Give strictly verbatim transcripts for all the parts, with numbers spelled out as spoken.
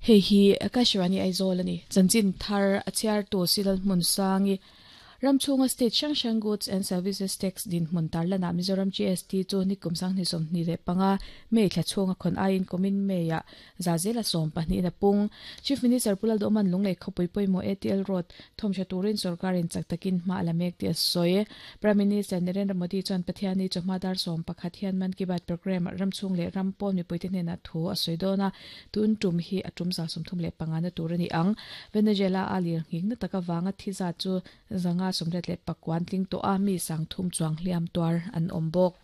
Hei hi Akashvani Aizawl ani chanchin thar a chhiar tu Silal hmun sangi Ramchhunga state hrang hrang goods and services tax din hmun tarlana Mizoram G S T chu nikum sanghnih sawmhnih leh panga May thla chhunga khawn aiin kumin May ah zazela sawm pahnih na pung. Chief Minister Pu Lalduhoma'n Lunglei khawpui pawimawh A T L Road thawmhra turin sorkarin chak takin hma a la mek tih a sawi. Prime Minister Narendra Modi chuan Pathianni chawhma dar sawm pakhat hian Mann Ki Baat program ramchhung leh ram pawn mipuite hnenah thu a sawi dawn a, tun tum hi a tum za sawmthum leh panga na tur a ni ang. Venezuela a lir nghing na taka wanga thi zat chu zanga sawmriat leh pakuan tling tawh a, mi sang thum chuang hliam tuar an awm bawk.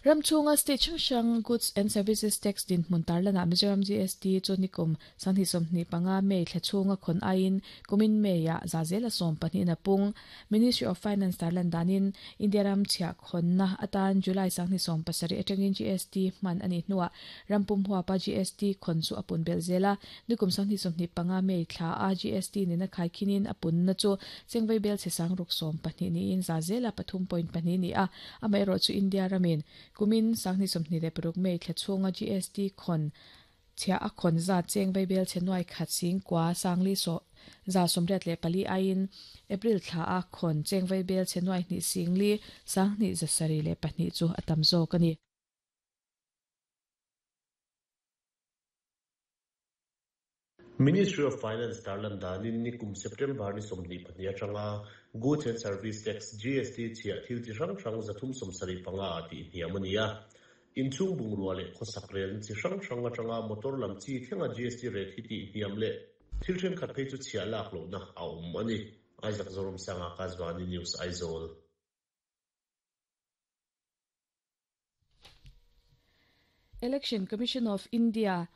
Ramchhunga state hrang hrang goods and services tax din hmun tarlana Mizoram G S T chu nikum sanghnih sawmhnih panga May thla chhunga khawn aiin kumin May ah zazela sawm pahnih na pung. Ministry of Finance tarlan danin India ram chhiah khawnna atan July sanghnih sawm pasarih atangin G S T hman ani hnuah rampum huapa G S T khawn chu a pun bel zela. Nikum sanghnih sawmhnih panga May thla a G S T nena khai khinin a pun na chu chengvei bel che sang ruk sawm pahnih niin zazela pathum point pahnih ni a. Amaherawh chu India ramin kumin sanghnih sawmhnih leh paruk May thla chhunga G S T khawn chhiah a khawn zat chengvei bel che nuai khat sing kwa sangli so za sawmriat leh pali aiin April thla a khawn chengvei bel che nuai hnih singli sanghnih za sarih leh pahnih chu a tam zawk ani. Ministry of Finance tarlan danin nikum September ni sawmhnih pahnih atanga Goods and Service Tax G S T chhiah thil chi hrang hrang zathum sawmsarih panga a tih hniam ani a. Inchhung bungrua leh khawsak rel chi hrang hrang atanga motor lam chi thlenga G S T rate hi tih hniam leh thil thenkhat phei chu chhiah lak lohna a awm ani. Isaac Zoram Sanga, Akashvani News, Aizawl. Election Commission of India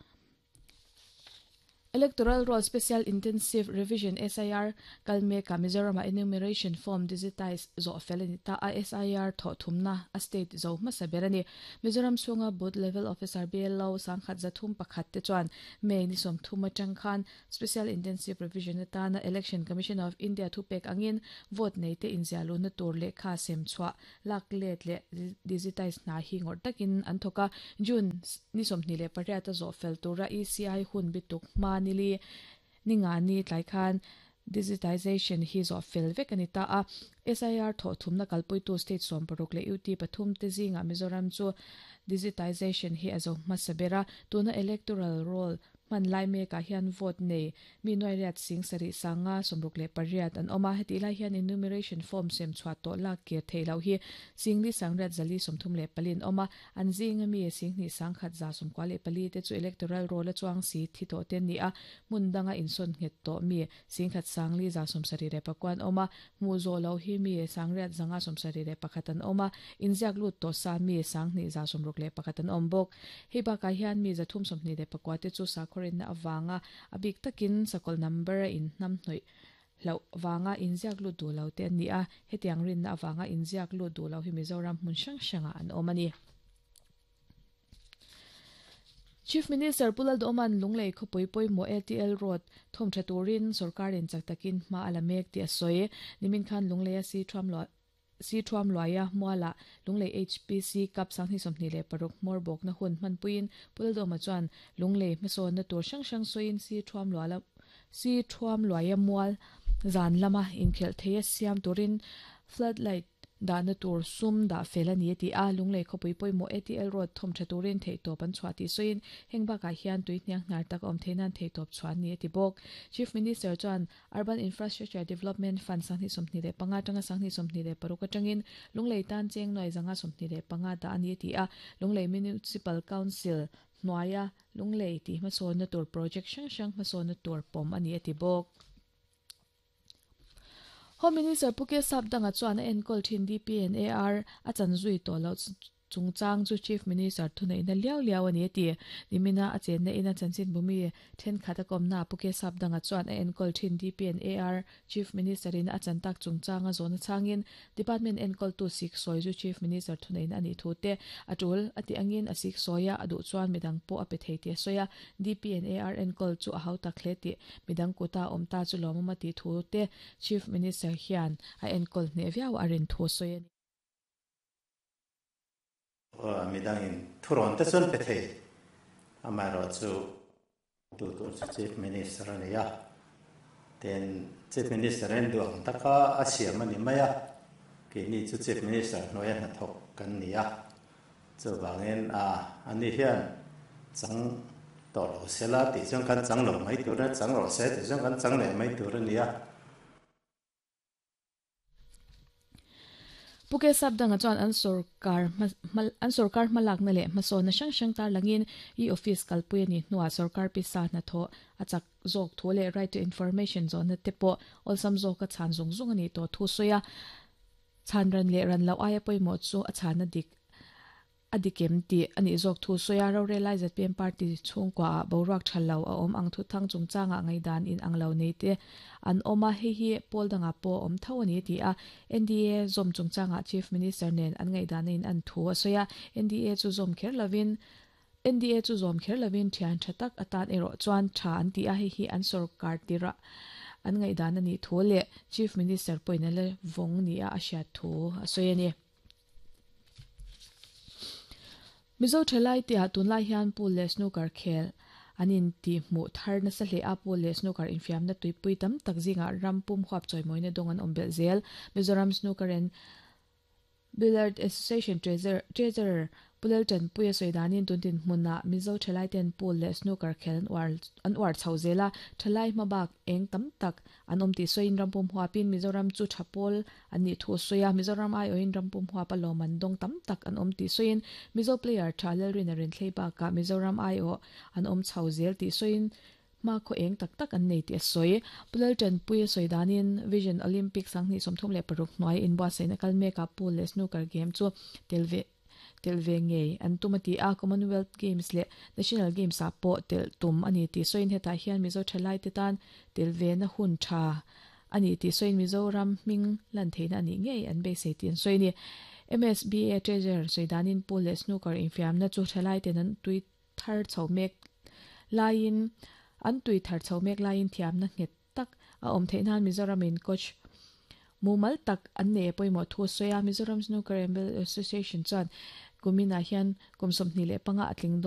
Electoral Roll Special Intensive Revision S I R kalmeka Mizoram enumeration form digitize zo felani ta a. S I R tho thumna a state zo hmasa berani Mizoram chhunga booth level officer B L O sangkhat zathum pakhat te chuan May ni som thuma tangkhan Special Intensive Revision atana Election Commission of India thupek angin vote nei te inzialu na tur le kha sem chwa lak let le digitize na hi ngor takin an thoka. June ni som ni le pariat zo fel tura E C I hun bituk ma nili ninga ni tlai khan digitization hi zo fel vek ani ta a. S I R tho thumna kalpui tu state som paruk le U T pathum te zinga Mizoram chu digitization hi azo hmasabera. Tuna electoral roll man lai me ka hian vote nei mi noi riat sing sari sanga somruk le pariat an oma. Heti lai hian enumeration form sem chwa to lak ke theilo hi singli sangriat zali somthum le palin oma. An zinga mi sing ni sangkhat za som kwa le pali te chu electoral roll chuang si thi to ten ni a mundanga inson nget to mi singkhat sangli za som sari re pakwan oma. Mu zo lo hi mi sangriat zanga som sari re pakhatan oma. Inziak lut to sa mi sang ni za somruk le pakhatan ombok. Hei ba ka hian mi za thum som ni le pakwa te chu sa khorin na awanga abik takin sakol number in nam hnoi lo wanga inziak lu du lo te ani a. Hetiang rin na awanga inziak lu du lo hi Mizoram hmun hrang hranga an awm ani. Chief Minister Pu Lalduhoma'n Lunglei khawpui pawimawh A T L Road thawmtha turin sorkarin chak takin hma a la mek tih a sawi. Nimin khan Lunglei a si thuam lo si thuam luaia muala Lunglei H P C Cup sanghnih sawmhnih leh paruk hmawr bawk na hun hmanpuiin Pu Lalduhoma chuan Lunglei hmasawn na tur hrang hrang sawiin si thuam luala si thuam luaia mual zan lama inkhelh thei a siam turin floodlight dah na tur sum dah fel ani ti a. Lunglei khawpui pawimawh A T L Road thawmtha turin theihtawp an chhuah tih sawiin heng bakah hian tui hniang hnar tak awm theinan theihtawp chhuah ani ti bawk. Chief Minister chuan Urban Infrastructure Development Fund sanghnih sawmhnih leh panga tanga sanghnih sawmhnih leh paruk atangin Lunglei tan cheng nuai zanga sawmhnih leh panga dah ani ti a. Lunglei Municipal Council hnuaia Lunglei ti hmasawn na tur project hrang hrang hmasawn na tur pawm ani ati bawk. Home Minister Pu K Sapdanga chuan a enkawl thin D P and A R a chan zui tawh lo chungchang chu Chief Minister thunei na liau liau ani ti. Nimina a chen na ina chanchin bumi thenkhat a kawmna Pu K Sapdanga chuan a enkawl thin D P and A R Chief Minister in a chan tak chungchang a zawna changin department enkawl tu sik sawi chu Chief Minister thunei na ani thu te atul ati angin a sik sawia a duh chuan midang pawh a pe thei ti a sawi a. D P and A R enkawl chu a hau tak hle ti midang kuta awm ta chu lawmawm a ti thu te Chief Minister hian a enkawl hne viau a rin thu sawi ani. Midang in thuron te chuan pe thei amai ro chu. Tu tur chu Chief Minister a ni a, tin Chief Minister in duh ang taka a siam a ni mai a, keini chu Chief Minister hnuaia hnathawk kan ni a, chuvangin a ani hian chang tawh lo sela tih chuan kan chang lo mai tur a, chang rawh se tih chuan kan chang leh mai tur a ni a. Puke Sapdanga chuan an sorkar an sorkar hmalakna leh hmasawnna hrang hrang tarlangin e-office kalpui a ni hnuah sorkar pisa hnathawh a chak zawk thu leh right to information zawnna te pawh awlsam zawka chhan zung zung a ni tawh thu sawi a. Chhan ran leh ran loh aia pawimawh chu a chhana dik a dikem tih a nih zawk thu sawi a. Rorel ai Z P M party chhungkua ah boruak tha lo a awm ang thu thang chungchangah ngaidan in ang lo nei te an awm a, hei hi pawl dangah pawh awm tho a ni ti a. N D A zawm chungchangah Chief Minister nen an ngaidan in an thu a sawi a. N D A chu zawm kher lovin N D A chu zawm kher lovin thian tha tak atan erawh chuan tha an ti a, hei hi an sorkar tirah an ngaidan a nih thu leh Chief Minister pawhin a la vawng ni a a hriat thu a sawi a ni. Mizo thalai te ah tunlai hian pool leh snooker khel an in tih hmuh thar nasa hle a, pool leh snooker infiamna tuipui tam tak zingah ram pum huap chawimawina dawng an awm belh zel. Mizoram Snooker and Billiard Association Treasurer Pulel Tanpuia sawi danin tuntin hmunah Mizo thalai ten pool leh snooker khel an uar an uar chho zel a, thalai hmabak eng tam tak an awm tih sawiin ram pum huapin Mizoram chu tha pawl an nih thu sawi a, Mizoram aiawhin ram pum huapa lawm an dawng tam tak an awm tih sawiin Mizo player tha Lalrin a rin thlei bakah Mizoram aiawh an awm chho zel tih sawiin hma khaw eng tak tak an nei tih a sawi. Pulel Tanpuia sawi danin Vision Olympic sanghnih sawmthum leh paruk hnuai inbuatsaihna kal mekah pool leh snooker game chu tel ve tel ve ngei an tum a ti a, Commonwealth Games leh National Games ah pawh tel tum a ni tih sawiin hetah hian Mizo thalai te tan tel ve na hun tha a ni tih sawiin Mizoram hming lan theihna a nih ngei an beisei tih an sawi a ni. M S B A Treasurer sawi danin pool leh snooker infiamna chu thalai ten an tui thar chho mek laiin an tui thar chho mek laiin thiamna nghet tak a awm theih nan Mizoramin coach mumal tak an nei pawimawh thu sawi a. Mizoram Snooker and Billiard Association chuan kuminah hian kum sawmhnih leh panga a tling dawn.